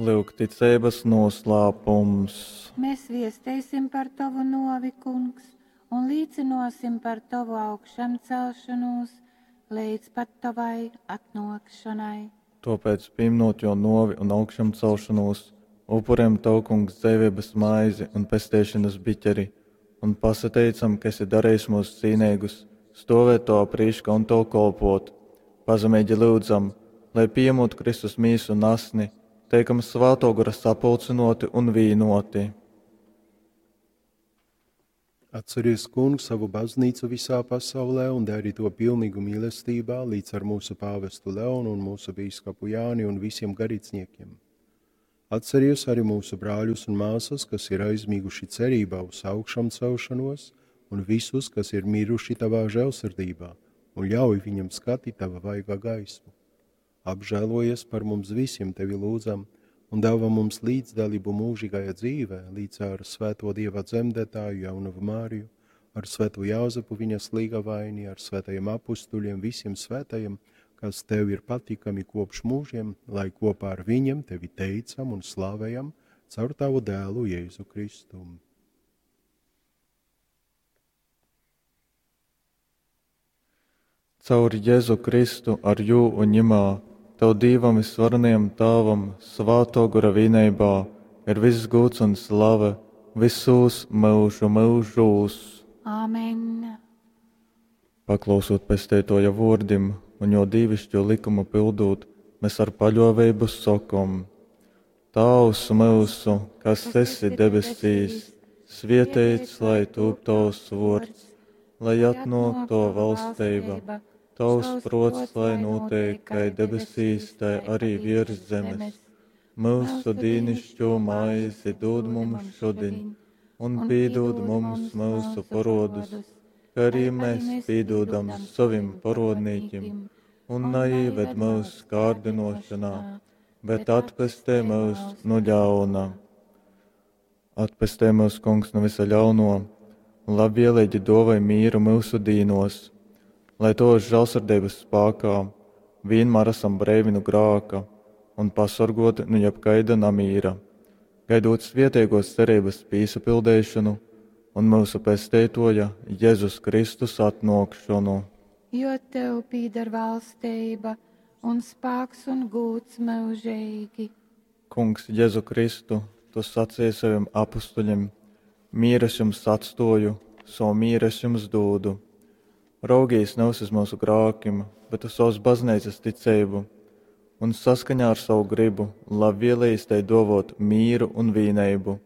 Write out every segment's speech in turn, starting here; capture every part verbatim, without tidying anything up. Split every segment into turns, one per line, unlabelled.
Lyuk ticeibas noslēpums.
Mēs viesteisim par tovu novi, kungs, un līcinosim par tovu augšamcelšanos līdz pat tavai atnākšanai.
Tāpēc, pieminot jo novi un augšamcelšanos, upurējam Tev, Kungs, dzīvības maizi un pestīšanas biķeri, un pasateicam, ka esi darījis mūs cīnīgus, stovēt Tavā prīškā un Tev kolpot. Pazemīgi lūdzam, lai pieņemot Kristus mīsu un asni, teikam Svētō Gara sapulcinoti un vīnoti.
Atceries, Kungs, savu baznīcu visā pasaulē un dari to pilnīgu mīlestībā līdz ar mūsu pāvestu Leonu un mūsu bīskapu Jāni un visiem garīdzniekiem. Atceries arī mūsu brāļus un māsas, kas ir aizmiguši cerībā uz augšām celšanos, un visus, kas ir miruši tavā žēlsirdībā, un ļauj viņam skatīt tava vaigā gaismu. Apžēlojies par mums visiem, tevi lūdzam, un dāvā mums līdzdalību mūžīgajā dzīvē, līdz ar svēto Dieva dzemdētāju Jaunavu Māriju, ar svēto Jāzepu viņas līgavaini, ar svētajiem apustuļiem, visiem svētajiem, kas tev ir patīkami kopš mūžiem, lai kopā ar viņiem tevi teicam un slavējam caur tavu dēlu Jēzu Kristu.
Caur Jēzu Kristu ar jū un ņemā, Tev Dievam visvarenajam Tēvam, Svētō Gara vienībā, ir viss gods un slave visos mūžu mūžos.
Āmen.
Paklausot pesteitoja vārdim un jo dīvišķo likumu pildot, mēs ar paļāvību sakom: Tēvs mūsu, kas esi debesīs, svētīts lai tūp tavs vārds, lai atnāk tava valstība. Tavs prots, lai notiek, kai debesīs, tai arī virs zemes. Mūsu dīnišķo maizi dod mums šodien, un piedod mums mūsu parodus, kā arī mēs piedodam savim parodnīķim, un neieved mūsu kārdinošanā, bet atpestē mūs no ļauna. Atpestē mūs, Kungs, no visa ļauno, un labvēlīgi dovai mīru mūsu dīnos, lai to žēlsirdības spēkā vienmēr esam brīvi no grāka un pasargoti no jebkaida namīra, gaidot svietiegos cerības pīsapildīšanu un mūsu pesteitoja Jēzus Kristus atnākšanu.
Jo tev pīdar valstība un spēks un gūts mūžīgi.
Kungs Jēzu Kristu, tu sacīji saviem apustuļiem, mieru es jums atstoju, savu mieru es jums dūdu. Raugīs nevis uz mūsu grākim, bet uz savas baznīcas ticību, un saskaņā ar savu gribu labvēlīgi tai dovot mīru un vīneibu,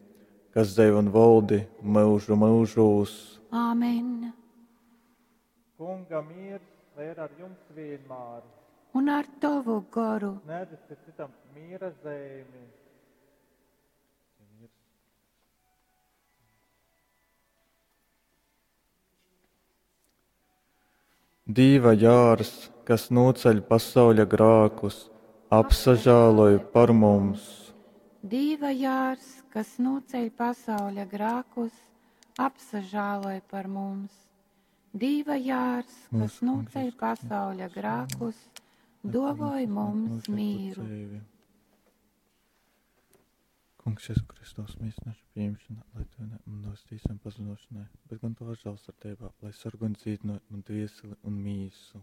kas dzēv un valdi mūžu mūžūs.
Āmen.
Kunga miers, lai ir ar jums vienmēr.
Un ar tavu goru.
Sniedziet citam miera zīmi. Dīva jārs, kas noceļ pasauļa grākus, apsažāloj par mums.
Dīva jārs, kas noceļ pasauļa grākus, apsažāloj par mums. Dīva jārs, kas noceļ pasauļa grākus, dovoj mums mīru.
Kungs, Jēzu Kristus, mīsnašu pieņemšana, lai tu ne un nostīsam pazinošanai, bet gan tavā žēlsirdībā, lai sargu un dzīdino man dvieseli un mīsu.